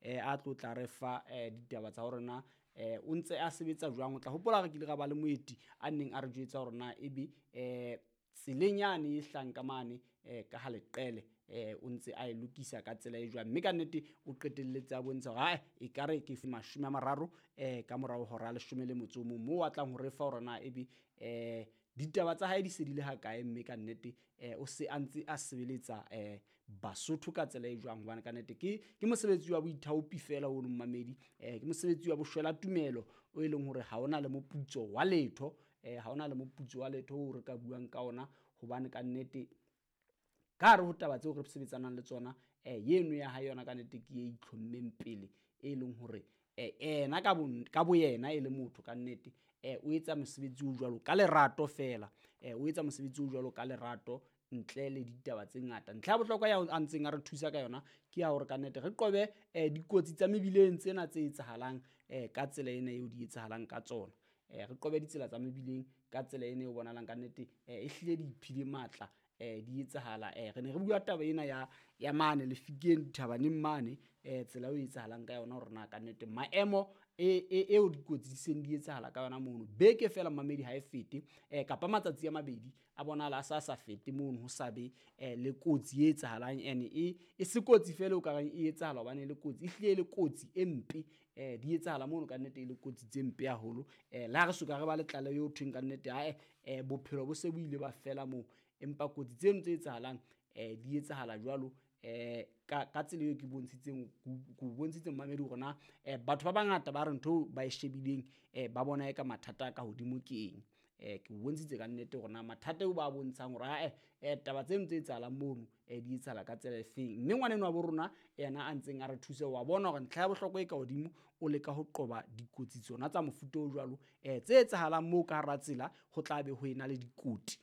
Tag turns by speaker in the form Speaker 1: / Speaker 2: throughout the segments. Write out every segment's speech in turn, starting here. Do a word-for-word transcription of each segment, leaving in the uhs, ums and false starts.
Speaker 1: eh a tlo tla re fa eh ditaba tsa hore na eh o ntse a sebetsa jwang. O tla hopola re kile ra ba le moeti a neng a re jwetsa hore na ebe eh tseleng yane e hlang ka mane eh ka ha leqele eh o ntse a e lokisa ka tsela e jwang, mme ka nnete o qetelletse a bontsha hore ae e ka re ke mashome a mararo eh ka morao hora ya leshome le motso o mong, moo a tlang ho re fa hore na ebe eh ditaba tsa hae di se di le hakae, mme ka nnete eh o se a ntse a sebeletsa eh Basotho ka tsela e jwang. Hobane ka nnete ke ke mosebetsi wa boithaopi fela ono mmamedi, eh ke mosebetsi wa boshwela tumelo o e leng hore ha ona le moputso wa letho, eh ha ona le moputso wa letho o re ka buang ka ona, hobane ka nnete ka hare ho taba tseo re sebetsanang le tsona eh yeno ya hae yona ka nnete ke e itlhommeng pele, e leng hore eh ena ka bo ka boyena e le motho ka nnete eh o etsa mosebetsi o jwalo ka lerato fela, eh o etsa mosebetsi o jwalo ka lerato ntle le ditaba tse ngata. Ntlha ya bohlokwa ya a ntseng a re thusa ka yona ke ya hore ka nnete re qobe eh dikotsi tsa mebileng tsena tse etsahalang eh ka tsela ena eo di etsahalang ka tsona, eh re qobe ditsela tsa mebileng ka tsela ena eo bonahalang ka nnete eh e hlile di iphile matla eh di etsahala. Eh re ne re bua taba ena ya ya mane Lefikeng dithabaneng mane eh tsela eo e etsahalang ka yona hore na ka nnete maemo e e eo dikotsi di seng di etsahala ka yona mono beke fela mmamedi ha e fete eh kapa matsatsi a mabedi a bonahala a sa sa fete mono ho sa be eh le kotsi e etsahalang, ene e e se kotsi fela o ka reng e etsahala hobane e le kotsi, e hlile e le kotsi e mpe eh di etsahala mono ka nnete e le kotsi tse mpe haholo. Eh le ha re soka re ba le tlaleho eo thweng ka nnete ae eh bophelo bo se bo ile ba fela moo, empa kotsi tseno tse etsahalang eh di etsahala jwalo eh ka ka tsela eo ke bontshitseng ko bontshitseng mmamedi hore na eh batho ba bangata ba re ntho ba e shebileng eh ba bona e ka mathata a ka hodimo ke eng. Eh ke bontshitse ka nnete hore na mathata eo ba bontshang hore ae eh taba tseno tse etsahalang mono eh di etsahala ka tsela e feng. Mme ngwaneno wa bo rona yena a ntseng a re thuse wa bona hore ntlha ya bohlokwa e ka hodimo o leka ho qoba dikotsi tsona tsa mofuta o jwalo eh tse etsahalang moo ka hara tsela ho tla be ho ena le dikoti.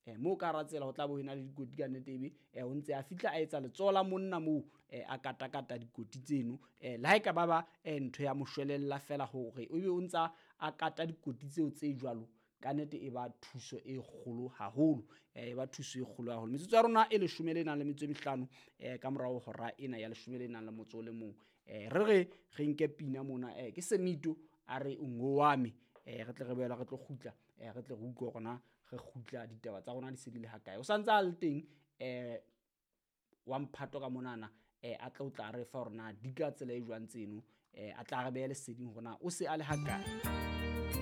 Speaker 1: Eh moo ka hara tsela ho tla be ho ena le dikoti ka nnete ebe eh o ntse a fihla a etsa letsoho la monna moo eh a katakata dikoti tseno eh le ha e ka ba ba eh ntho ya moshwelella fela hore ebe o ntsa a kata dikoti tseo tse jwalo, ka nnete e ba thuso e kgolo haholo, eh e ba thuso e kgolo haholo. Metsotso ya rona e leshome le nang le metso e mehlano eh ka morao hora ena ya leshome le nang le motso o le mong, eh re re re nke pina mona eh ke Semito a re ngowame eh re tle re boela re tlo kgutla eh re tle re utlwe hore na re kgutla ditaba tsa rona di se di le hakae. O santse a le teng eh wa mphato ka monana eh a tla o tla re fa hore na di ka tsela e jwang tseno eh a tla re behe leseding hore na o se a le hakae.